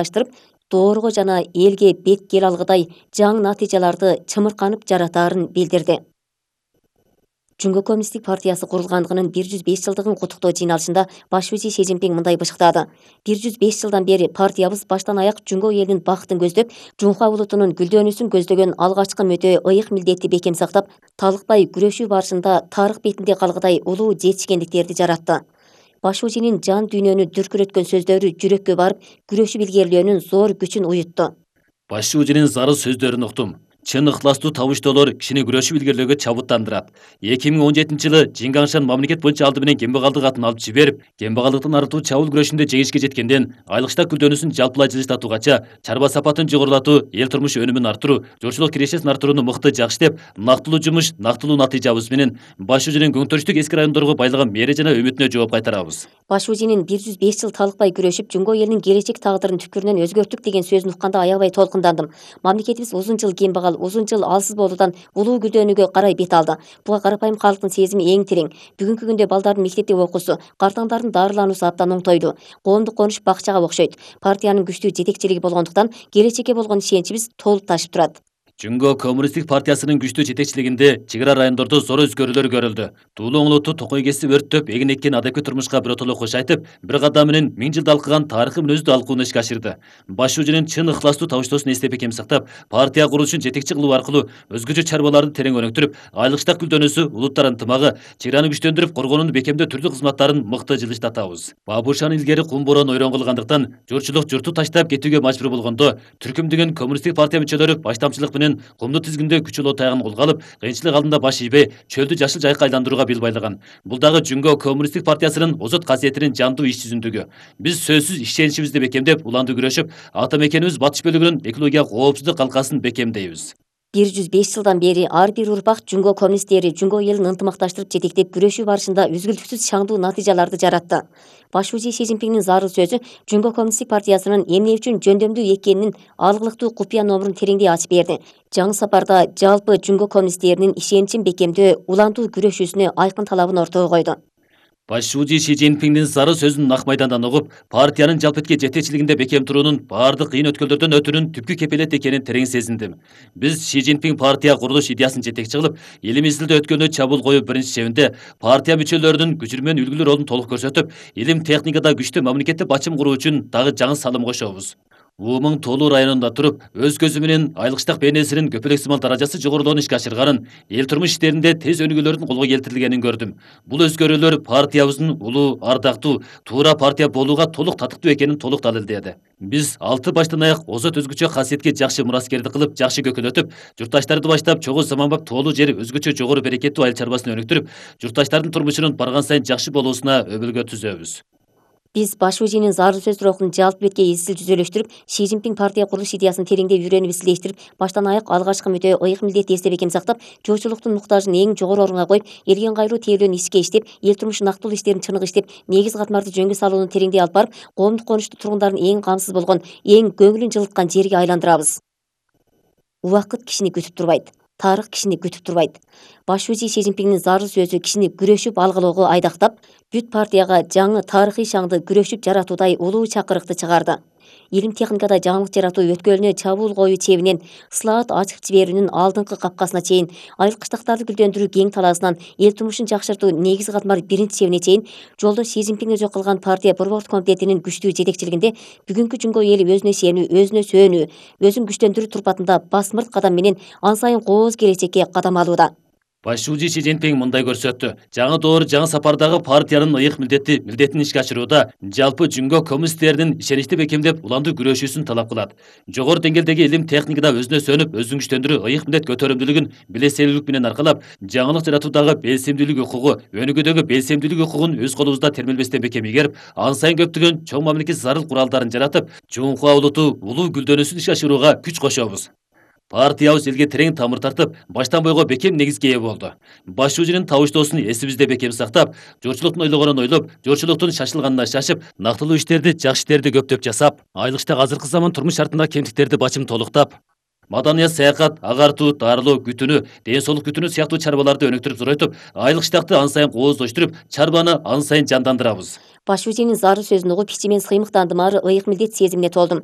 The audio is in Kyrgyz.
аштырып, доорго жана элге бет кел алгыдай жаңы натыйжаларды чымырканып жаратаарын билдирди. Жумго коммунисттик партиясы курулгандыгынын 105 жылдыгын куттуктоо жыйналышында башчы Си Цзиньпин мындай бышыктады. 105 жылдан бери партиябыз баштан аяк Жумго элинин бактын көздөп, Жунхва улутунун гүлдөнүүсүн көздөгөн алгачкы мөтө ыйык милдетти бекем сактап, талыкпай күрөшүү барышында тарых бетинде калгыдай улуу жетишкендиктерди жаратты. Башуужинин жан дүйнөнү дүркүрөткөн сөздөрү жүрөккө барып, күрөшүп илгерилөөнүн зор күчүн уютту. Башуужинин зарыл сөздөрүн уктум. Чын ыхластуу табыштоолор кишини күрөшүп илгерилөөгө чабыттандырат. 2017-жылы Жиңгаңшан мамлекет боюнча алды менен кембагалдык атын алып жиберип, кембагалдыктан арылтуу чабуул күрөшүндө жеңишке жеткенден айылкчтак гүлдөнүүсүн жалпылай жылыштатуугача, чарба сапатын жогорулатуу, эл турмуш өнүмүн арттыруу, журчулук кирешесин арттырууну мыкты жакшытып, нактылуу жумуш, нактылуу натыйжабыз менен Башуужинин көңтөрүштүк эски райондорго байлаган мээри жана үмүтүнө жооп кайтарабыз. Башуужинин 105 жыл талыкпай күрөшүп, Жумго элинин келечек тагдырын түпкүрүнөн өзгөрттүк деген сөзүн укканда аябай толкундандым. Мамлекетибиз узун жыл кембагал, узун жыл алсыз болуудан улуу гүлдөнүүгө карай бет алды. Буга карапайым калктын сезими эң терең. Бүгүнкү күндө балдардын мектепте окуусу, картаңдардын дарылануусу абдан оңтойду. Коомдук конуш бакчага окшойт. Партиянын күчтүү жетекчилиги болгондуктан келечекке болгон ишеничибиз толуп ташып турат. Жумго коммунисттик партиясынын күчтүү жетекчилигинде чек ара райондордо зор өзгөрүүлөр көрүлдү. Туулуу оңолоту токой кесип өрттөп, эгин эккен адепкий турмушка биротоло кош айтып, бир кадам менен 1000 жылда алкыган тарыхый мүнөздү алкууну ишке ашырды. Башуужинин чын ыхластуу табыштоосун эстеп бекем сактап, партия курулушун жетекчи кылуу аркылуу өзгөчө чарбаларды терең өнүктүрүп, айылкчтак гүлдөнүүсү, улуттар ынтымагы, чек араны күчтөндүрүп, коргоонун бекемдөө түрдүү кызматтарын мыкты жылыштатабыз. Бабушан илгери кум бороон ойрон кылгандыктан, журтчулук журту таштап кетүүгө мажбур болгондо, түркүмдөгөн коммунисттик партия мүчөлөрү баштамчылык менен кумдуу тизгиндө күчөлүү таягын колго алып, кыйынчылык алдында баш ийбей, чөлдү жашыл жайыкка айландырууга бел байлаган. Бул дагы Жумго коммунисттик партиясынын озот касиетинин жандуу иш жүзүндүгү. Биз сөзсүз ишеничибизди бекемдеп, уланды күрөшүп, ата мекенибиз батыш бөлүгүнүн экологиялык коопсуздук калкасын бекемдейбиз. 105 жылдан бери ар бир урпак Жумго коммунисттери Жумго элин ынтымакташтырып жетектеп күрөшүү барышында үзгүлтүксүз шаңдуу натыйжаларды жаратты. Башуужи Си Цзиньпиндин зарыл сөзү Жумго коммунисттик партиясынын эмне үчүн жөндөмдүү экенинин алгылыктуу купуя номурун тереңдей ачып берди. Жаңы сапарда жалпы Жумго коммунисттеринин ишеничин бекемдөө, улантуу күрөшүүсүнө айкын талабын ортого койду. Башуужи Си Цзиньпиндин зарыл сөзүн нак майдандан угуп, партиянын жалпетке жетекчилигинде бекем туруунун бардык кыйын өткөлдөрдөн өтүүнүн түпкү кепелет экенин терең сезиндим. Биз Си Цзиньпин партия курулуш идеясын жетекчи кылып, элибиз тилде өткөнү чабуул коюу биринчи чебинде партия мүчөлөрүнүн күчүрмөн үлгүлүү ролун толук көрсөтүп, илим техникада күчтүү мамлекетти бачым куруу үчүн дагы жаңы салым кошобуз. Уумуң Тоолуу районунда туруп, өз көзү менен айылкчтак бейнесинин көпөлөксымал даражасы жогорулоонун ишке ашырганын, эл турмуш иштеринде тез өнүгүүлөрдүн колго келтирилгенин көрдүм. Бул өзгөрүүлөр партиябыздын улуу, ардактуу, туура партия болууга толук татыктуу экенин толук далилдеди. Биз 6 баштан аяк озот өзгөчө касиетке жакшы мураскердик кылып, жакшы көкөлөтүп, журтташтарды баштап чогуу заманбап тоолуу жер өзгөчө жогору берекеттүү айыл чарбасын өнүктүрүп, журтташтардын турмушунун барган сайын жакшы болуусуна өбөлгө түзөбүз. Биз Башуужинин зарыл сөздөр окун жалпы бетке изчил жүзөлөштүрүп, Си Цзиньпин партия курулуш идеясын тереңдеп үйрөнүп изилдештирип, баштан аяк алгачкы мөтө ыйык милдетти эсте бекем сактап, жогчулуктун муктажын эң жогору орунга коюп, элге ыңгайлуу тейлөөнү ишке иштеп, эл турмушунун нактылуу иштерин чыныгы иштеп, негиз катмарды жөнгө салууну тереңдей алып барып, коомдук конушту тургундардын эң камсыз болгон, эң көңүлүн жылыткан жерге айландырабыз. Убакыт кишини күтүп турбайт. Тарых кишини күтүп турбайт. Башуужи Си Цзиньпиндин зарыл сөзү кишини күрөшүп алгылоого айдактап, бүт партияга жаңы тарыхый шаңды күрөшүп жаратуудай улуу чакырыкты чыгарды. Илим техникада жаңылык жаратуу өткөлүнө чабуул коюу чебинен ысылаат ачып жиберүүнүн алдыңкы капкасына чейин, айылкчтактарды гүлдөндүрүү кең талаасынан эл турмушун жакшыртуу негиз катмар биринчи чебине чейин жолдош Си Цзиньпин өзү кылган партия борбордук комитетинин күчтүү жетекчилигинде бүгүнкү Жумго эли өзүнө ишенүү, өзүнө сөөнүү, өзүн күчтөндүрүү турпатында басмырт кадам менен ан сайын кооз келечекке кадам алууда. Башуужи Си Цзиньпин мындай көрсөттү. Жаңы доор, жаңы сапардагы партиянын ыйык милдетин ишке ашырууда жалпы Жумго коммунисттеринин ишеничти бекемдеп, уландуу күрөшүүсүн талап кылат. Жогору деңгээлдеги илим техникада өзүнө сөөнүп, өзүн күчтөндүрүү, ыйык милдет көтөрүмдүүлүгүн билеселүүлүк менен аркалап, жаңылык жаратуудагы белсемдүүлүк укугу, өнүгүүдөгү белсемдүүлүк укугун өз колубузда термелбестен бекем ийгерип, ан сайын көптөгөн чоң мамлекет зарыл куралдарын жаратып, Жунхва улуту улуу гүлдөнүүсүн ишке ашырууга күч кошобуз. Партиябыз элге терең тамыр тартып, баштан бойго бекем негизге ээ болду. Башуужинин табыштоосун эсибизде бекем сактап, журтчулуктун ойлогонун ойлоп, журтчулуктун шашылганына шашып, нактылуу иштерди, жакшы иштерди көптөп жасап, айылкчтак азыркы заман турмуш шартындагы кемтиктерди бачым толуктап, маданият, саякат, агартуу, дарылоо, күтүүнү, ден соолук күтүүнү сыяктуу чарбаларды өнүктүрүп зоройтуп, айылкчтакты ан сайын кооздоштуруп, чарбаны ан сайын жандандырабыз. Баш шүүженин зарыл сөзүн угуп ичимен сыймыктандым, ары ыйык милдет сезимине толдум.